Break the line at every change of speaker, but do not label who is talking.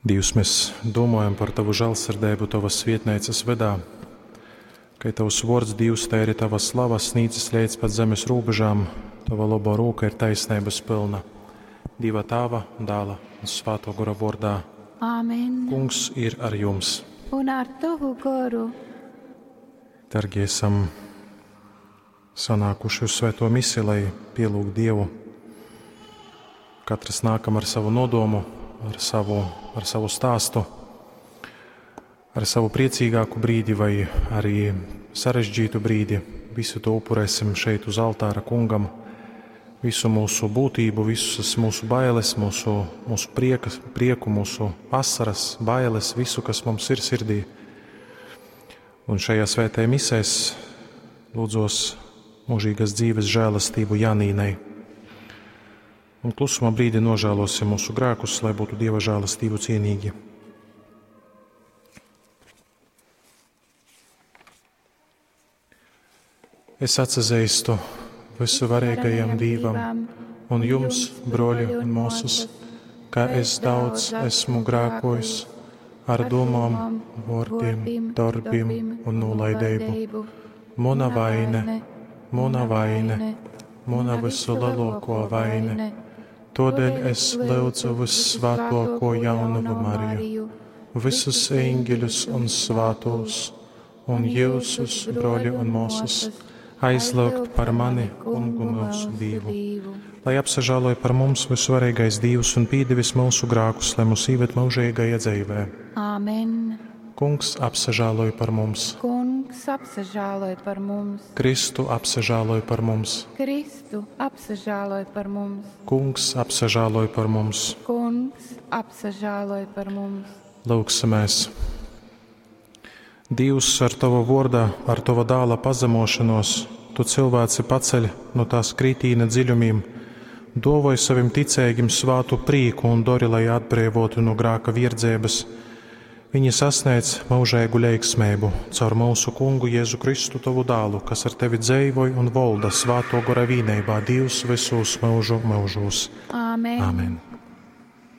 Dīvs, mēs domājam par Tavu žēlsirdību Tavas svietnīcas vydā. Kai Tavs vārds, Dīvs, tai arī Tava slava snīdzas līdz pat zemes robežām, Tava labo rūka ir taisnības pilna. Dieva Tāva, Dāla un Svāto Gora vārdā.
Āmen.
Kungs ir ar jums.
Un ar tavu goru.
Dargie, esam sanākuši uz svēto misiju, lai pielūgtu Dievu. Katrs nākam ar savu nodomu, ar savu, ar savu stāstu, ar savu priecīgāku brīdi vai arī sarežģītu brīdi. Visu to upurēsim šeit uz altāra kungam. Visu mūsu būtību, visas mūsu bailes, mūsu, mūsu prieka, prieku, mūsu asaras, bailes, visu, kas mums ir sirdī. Un šajā svētajā misē es lūdzos mūžīgas dzīves žēlastību Janīnai. Un klusumā brīdi nožēlosim mūsu grēkus, lai būtu Dieva žēlastību cienīgi. Es atsazīstu visuvarīgajam Dievam un jums, broļi un māsas, ka es daudz esmu grēkojis ar domām, vārdiem, darbiem un nolaidību. Mana vaine, mana vaine, mana visu lielāko vaine. Todēļ es lūdzu vissvētāko jaunavu Mariju, visus eņģeļus un svētos, un jūsus, broļi un māsas, aizlūgt par mani, kungu mūsu Dievu. Lai apsažāloja par mums visvarīgais Dievs un pīdevis mūsu grākus, lai mūs īved mūžīgajā dzīvē.
Āmen.
Kungs apsažāloja par mums,
Kungs apsažāloj par mums.
Kristu apsažāloja par mums,
Kristu apsažāloj par mums.
Kungs apsažāloja par mums.
Kungs apsažāloj par mums.
Lūksimies! Dievs ar Tava vārdā, ar Tava dāla pazemošanos, Tu cilvēci paceļ no tās kritīna dziļumiem, dovoj savim ticīgim svātu prīku un dori, lai atbrīvotu no grāka virdzības. Viņi sasniedz mūžīgu leiksmību caur mūsu kungu Jēzu Kristu Tavu dālu, kas ar Tevi dzēvoj un volda svāto gora vīnībā Dievs visos mūžu mūžos.
Āmen.
Āmen.